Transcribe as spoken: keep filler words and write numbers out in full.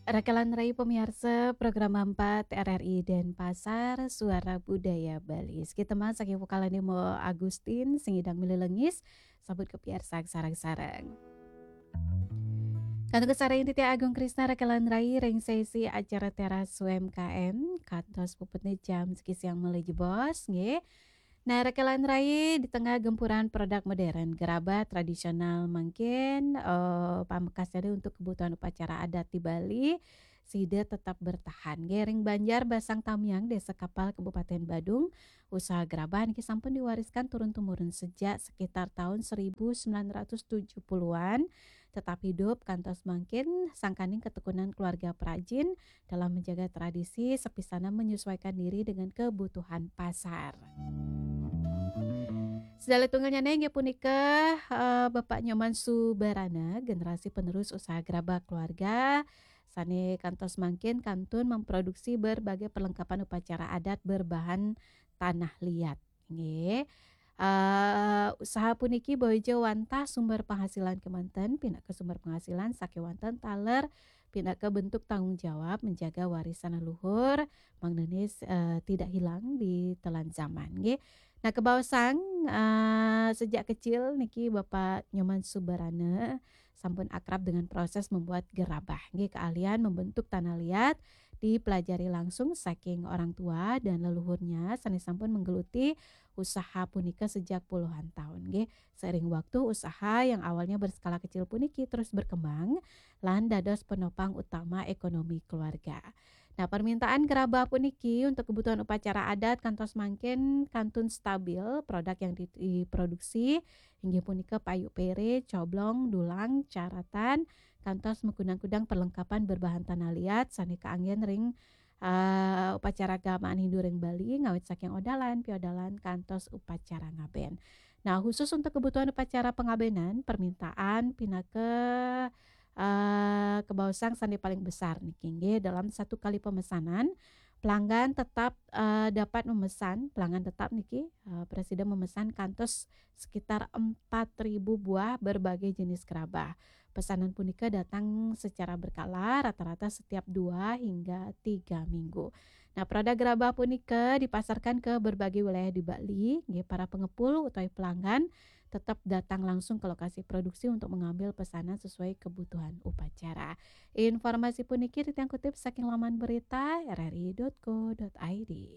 Rakelan rai pamiarsa program empat R R I Denpasar, Suara Budaya Bali. Sakit teman saking vokal Nemo Agustin, sing idang mililengis, sabut ke piarsa sarang-sarang. Kantun kasarengin titiang Agung Krisna rakelan rai ring sesi acara Teras U M K M, kantos puputne jam siki siang malih jebos, nggih. Nah, rakelan rai di tengah gempuran produk modern, gerabah tradisional mangkin, eh, pamekasnya untuk kebutuhan upacara adat di Bali, sida tetap bertahan. Nggih, ring Banjar Basang Tamiang, Desa Kapal, Kabupaten Badung, usaha gerabah niki sampun diwariskan turun-temurun sejak sekitar tahun seribu sembilan ratus tujuh puluhan, tetap hidup kantos mangkin sangkaning ketekunan keluarga perajin dalam menjaga tradisi, sapisanan menyesuaikan diri dengan kebutuhan pasar. Sedaya tunggalnya inggih punika, eh, Bapak Nyoman Subarana, generasi penerus usaha gerabah keluarga, sane kantos mangkin kantun memproduksi berbagai perlengkapan upacara adat berbahan tanah liat. Nggih. Eh, usaha puniki boya wantah sumber penghasilan kemanten, pinaka sumber penghasilan sakewanten taler, pinaka bentuk tanggung jawab menjaga warisan leluhur, mangdane, eh, tidak hilang di telan zaman, nggih. Nah, kebaosang, eh, sejak kecil niki Bapak Nyoman Subarana sampun akrab dengan proses membuat gerabah, nggih, keahlian membentuk tanah liat dipelajari langsung saking orang tua dan leluhurnya sane sampun menggeluti usaha punika sejak puluhan tahun, nggih. Seiring waktu, usaha yang awalnya berskala kecil puniki terus berkembang lan dados penopang utama ekonomi keluarga. Nah, permintaan gerabah puniki untuk kebutuhan upacara adat kantos mangkin kantun stabil. Produk yang di-, diproduksi inggih punika payu pere, coblong, dulang, caratan, kantos makudang-kudang perlengkapan berbahan tanah liat sane kaanggen ring, eh, upacara keagamaan Hindu ring Bali, ngawit saking odalan, piodalan, kantos upacara ngaben. Nah, khusus untuk kebutuhan upacara pengabenan, permintaan pinaka, eh, kebaosang sane paling besar niki, nggih, dalam satu kali pemesanan, pelanggan tetap, eh, dapat memesan, pelanggan tetap niki, eh, prasida memesan kantos sekitar empat ribu buah berbagai jenis gerabah. Pesanan punika datang secara berkala, rata-rata setiap dua hingga tiga minggu. Nah, produk gerabah punika dipasarkan ke berbagai wilayah di Bali. Nggih, para pengepul utawi pelanggan tetap datang langsung ke lokasi produksi untuk mengambil pesanan sesuai kebutuhan upacara. Informasi puniki titiang kutip saking laman berita R R I dot co dot I D.